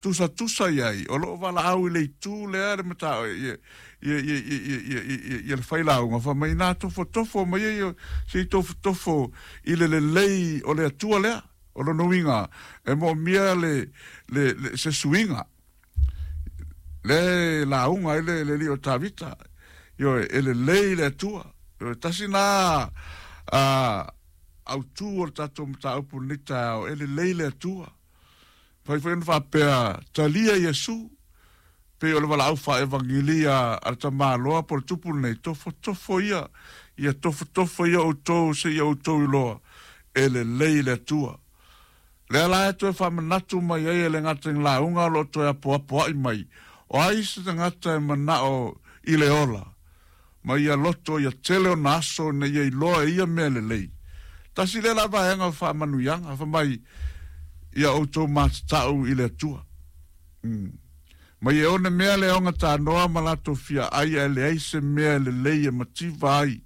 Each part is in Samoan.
Tusatusa i ai, o lo o valaau i le itu lea le mata ia ia ia ia ia ia ia le failauga fai mai na tofotofo mai ia se i tofotofo i le lelei o le Atua lea. O lona uiga e moomia le le, le se suiga le lauga ai le le alii o Tavita. Ioe, e lelei le Atua. Ioe, tasi na a autu o le tatou mataupu i lenei taeao, e lelei le Atua. Mafai foi ona faapea, Talia Iesu, pei o le valaau faa-evangelia a le tamaloa po o le tupu lenei, Tofotofo ia, ia tofotofo ia outou seia outou iloa, e lelei le Atua. Lea la e toe faamanatu mai ai e le gata i lauga o lo o toe apoapoai mai, o ai se tagata e manao i le ola, ma ia loto ia tele ona aso ina ia iloa e ia mea lelei. Tasi lea la vaega o faamanuiaga, fai mai, Ia outou matatau i le Atua. Mm. Ma ia one mea le aoga tanoa ma latou fia ai ae leai se mea e lelei e mativa ai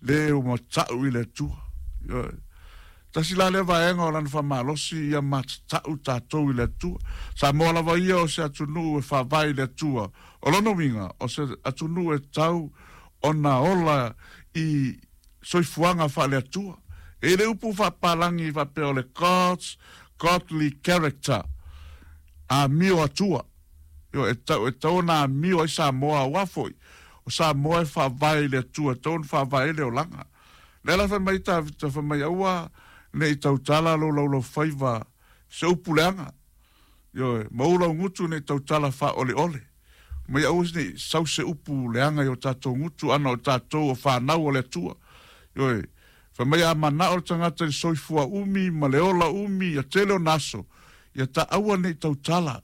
le ua matau i le Atua. Ioe. Tasi la lea vaega o lana faamalosi ia matatau tatou i le Atua. Samoa lava ia o se atunuu e faavae i le Atua. O lona uiga, o se atunuu e tau ona ola i soifuaga faale-Atua. E i ai le upu faapalagi faapea o le God's godly character, amio Atua. Ioe, e tau, e tau ona amio ai Samoa, aua foi, o Samoa e faavae i le Atua, e tau ona faavae ai le olaga. Lea la fai mai Tavita, fai mai, Aua ne i tautala lou laulaufaiva i se upu leaga. Ioe, ma ou laugutu ne i tautala faaoleole. Mai aua ne i sau se upu leaga i o tatou gutu ana o tatou o fanau a le Atua. Ioe, fai mai a manao le tagata i le soifua umi ma le ola umi ia tele ona aso, ia ta aua ne i tautala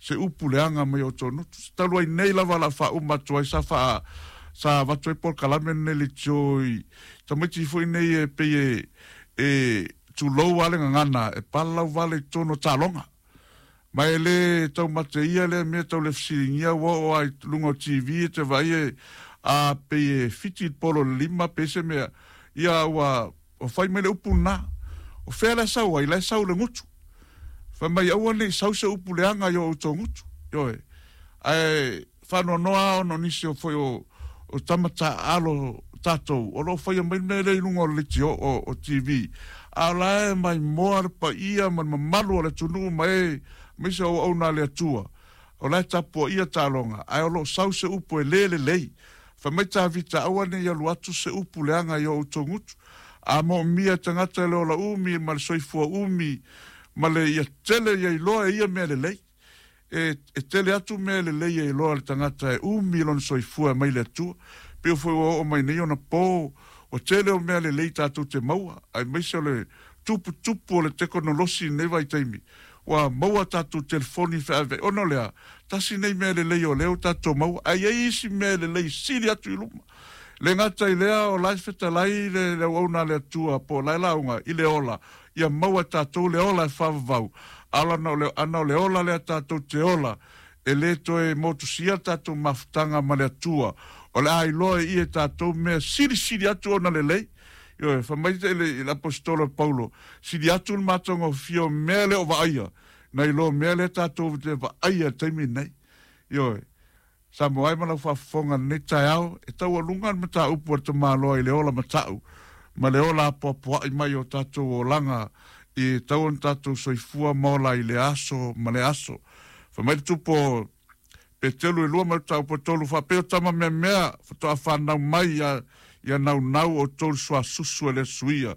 se upu leaga mai o outou gutu. Talu ai nei lava o le a faauma atu ai sa faa sa avatu ai polokalame lenei leitio i tamaiti foi nei e pei e e tulou lava le gagana e palalau vale i totonu o taaloga. Ma e le taumate ia lea mea tau le fesiligia ua oo lava i luga o TV e te vaai e a pei e fiti le polo i le lima pe se mea ia ua fai mai le upu lena. O fea la e sau ai? La e sau i le gutu. Fai mai aua ne i sau se upu leaga i o outou gutu. Ioe. Ae faanoanoa lava ona o nisi o foi o o tama taaalo tatou o lo o faia mai le mea lea i luga o le leitio o o TV a o la e maimoa le paia ma le mamalu o le atunuu ma e aemaise o auauna a le Atua o la e tapuaia taaloga ae o lo o sau se upu e le lelei. Fai mai Tavita aua ne i alu atu se upu leaga i o outou gutu a moomia e tagata le ola umi ma le soifua umi ma le ia tele ia iloa e ia mea lelei. E, e tele atu mea e lelei e iloa le tagata e umi lona soifua e mai le Atua. Pei foi ua oo mai nei ona po, ua tele o mea lelei tatou te maua, aemaise o le tuputupu o le tekonolosi i lenei vaitaimi. Ua maua tatou telefoni feaveai. Ona o le a? Tasi nei mea lelei o lea ua tatou maua, ae i ai isi mea lelei sili atu i luma. Le gata i lea, o la e fetalai le, le auauna a le Atua po o la e lauga i le ola, ia maua e tatou le ola e faavavau, a o lana o le, ana o le ola lea tatou te ola, e le toe motusia le tatou mafutaga ma le Atua, o le a iloa e ia e tatou mea silisili atu ona lelei. Ioe, fai mai le, le Aposetolo Paulo, sili atu le matagofie o mea le o vaaia, nai lo mea lea tatou te vaaia i le taimi lenei. Ioe. Samoa e ma lau faafofoga i lenei taeao, e taualuga le mataupu a le tamaloa i le ola matau ma le ola apoapoai mai o tatou olaga i tau ona tatou soifua ma ola i lea aso ma lea aso. Fai mai le tupu o Peteru e lua ma le mataupu e tolu, faapea o tama meamea faatoa fanau mai ia, ia naunau outou le suasusu e le suia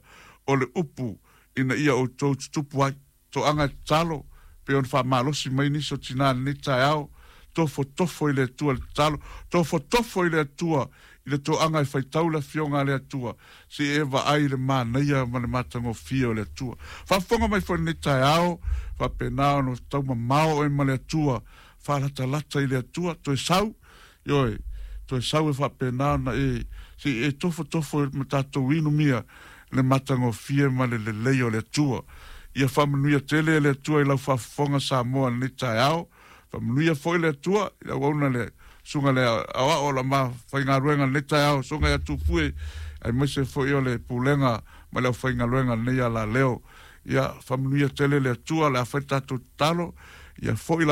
o le upu ina ia outou tutupu ai. Toaga e tatalo, pei ona faamalosi mai nisi o tina i lenei taeao, tofotofo i le Atua i le tatalo, tofotofo i le Atua i le toaga e faitau le Afioga a le Atua, se i e vaai i le manaia ma le matagofie o le Atua. Faafofoga mai foi i lenei taeao, faapena ona taumamao oe ma le Atua, faalatalata i le Atua, toe sau, ioe, toe sau e faapena ona e, se i e tofotofo ma tatou inumia le matagofie ma le lelei o le Atua. Ia faamanuia tele e le Atua i lau faafofoga Samoa i lenei taeao. Faamanuia foi le Atua i le auauna le susuga le aoao o la ma faigaluega i lenei taeao, susuga ia Tufue, aemaise foi o le pulega ma le aufaigaluega i lenei alaleo. Ia faamanuia tele le Atua, o le a fai le tatou tatalo, ia foi